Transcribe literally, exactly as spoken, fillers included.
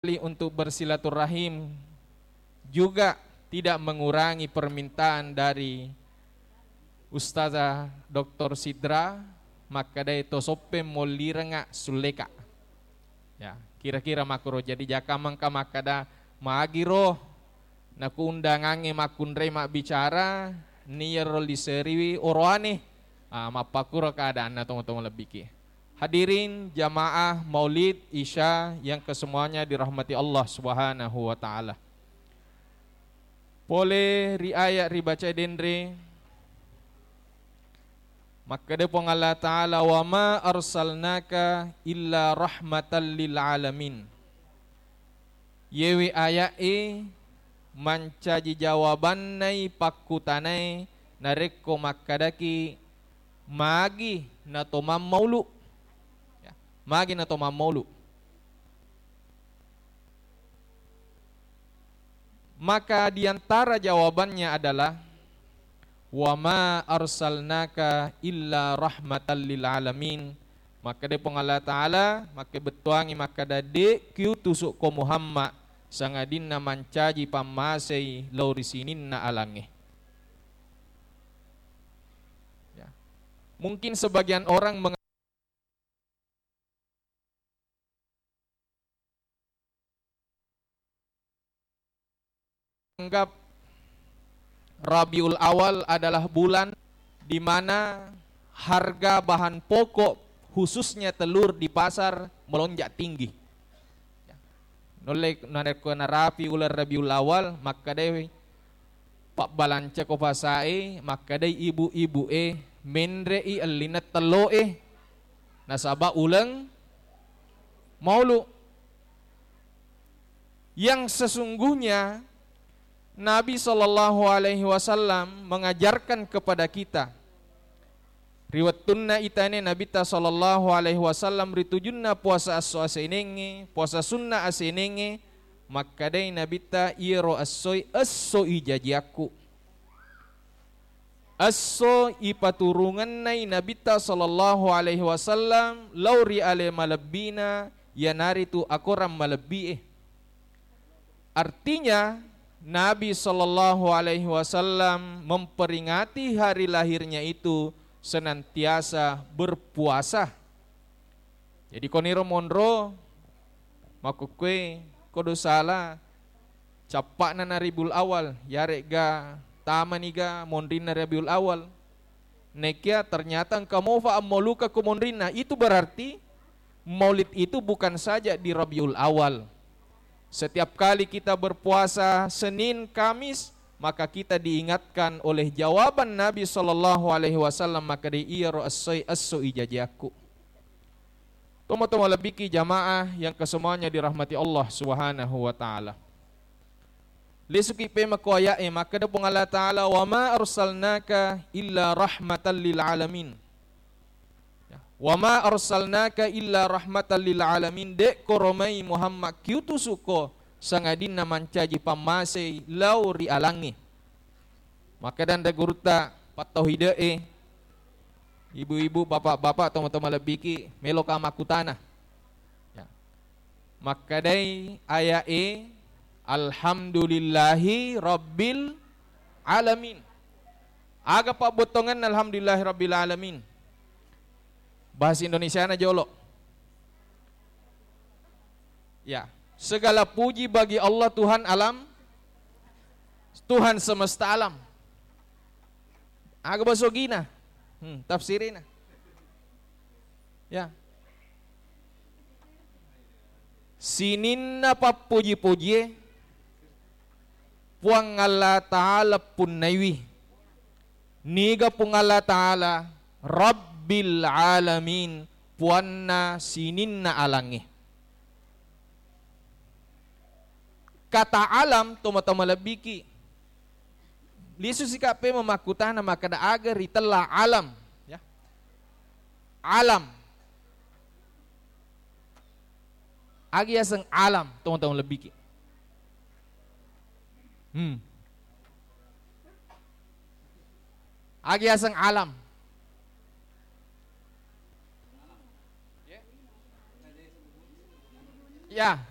untuk bersilaturahim juga tidak mengurangi permintaan dari Ustazah doktor Sidra, makkedai to Soppeng mollirengnga sulleka. Ya, kira-kira makkuro. Jadi jaka mengka makkeda magiro naku undangangnge makkunrai mabbicara, niyaro liseriwi oroane. Ah, mappakuro keadaanna tomatoa malebbiki. Hadirin jamaah Maulid Isya yang kesemuanya dirahmati Allah Subhanahu wa Ta'ala. Pole ri ayat ribaca denre, makkeda Puang Allah Ta'ala, "Wa ma arsalnaka illa rahmatan lil alamin." Yewe aya'e mancaji jawabannai pakkutanae narekko makkadaki, "Magi nato mammaulu?" Ya, magi nato mammaulu? Maka di antara jawabannya adalah, "Wa ma arsalnaka illa rahmatan lil alamin." Makkeda Puang Allah Ta'ala, makkebettuangi makkeda, "De' kiutusukko Muhammad sangadinna mancaji pammasei lao ri sininna alangnge." Ya. Mungkin sebagian orang meng- anggap Rabiul Awal adalah bulan di mana harga bahan pokok, khususnya telur di pasar, melonjak tinggi. Nulle narekko narapi uleng Rabiul Awal, makkedai pabbalancako pasae, makkedai ibu-ibu'e, menre'i ellineng tello'e, nasaba uleng maulu. Yang sesungguhnya Nabi sallallahu alaihi wasallam mengajarkan kepada kita, ri wettunna itane Nabitta sallallahu alaihi wasallam ri tujunna puasa esso asenengnge, puasa sunna asenengnge, makkedai Nabitta, "Iyaro essoi, essoi jajiakku." Esso ipaturungennai Nabitta sallallahu alaihi wasallam lao ri ale malebbina, iyanaritu akorang malebbi'e. Artinya, Nabi sallallahu alaihi wasallam memperingati hari lahirnya itu senantiasa berpuasa. Jadi, koniro monro, makkukkue, kodo sala, cappa'na na Rabiul Awal, yaregga tamaniga monrinna Rabiul Awal. Nekia ternyata engka mofa ammauluka ko monrinna, itu berarti Maulid itu bukan saja di Rabiul Awal. Setiap kali kita berpuasa Senin, Kamis, maka kita diingatkan oleh jawaban Nabi sallallahu alaihi wasallam, makkeda, "Iyaro essoi, esso ijajiakku." Tomatoa malebbiki jamaah yang kesemuanya dirahmati Allah Subhanahu wa Ta'ala. Lisuki pemako aya'e, makkeda Puang Allah Ta'ala, "Wa ma arsalnaka illa rahmatan lil alamin." Ya. "Wa ma arsalnaka illa rahmatan lil alamin." De'ko romai Muhammad kiutusukko sangadinna mancaji pammasei lao ri alangnge. Makkedanre gurutta pattauhide'e, ibu-ibu, bapak-bapak, tomatoa malebbiki, meloka makkutana. Ya. Makkedai aya'e, "Alhamdulillahi rabbil alamin." Aga pabbottongenna alhamdulillahi rabbil alamin? Bahasa Indonesiana jolo. Ya, segala puji bagi Allah, Tuhan alam, Tuhan semesta alam. Aga basa Ogina? Hmm, tafsirina. Ya. Sininna pappuji-pujie Puang Allah Ta'ala punnaiwi. Niga Puang Allah Ta'ala? Rabbil alamin, puanna sininna alangnge. Kata alam, tomatoa malebbiki, lisusika pemeng makkutana makkeda aga ritella alam, ya. Alam. Aga yaseng alam, tomatoa malebbiki? Hmm. Aga yaseng alam? Ya.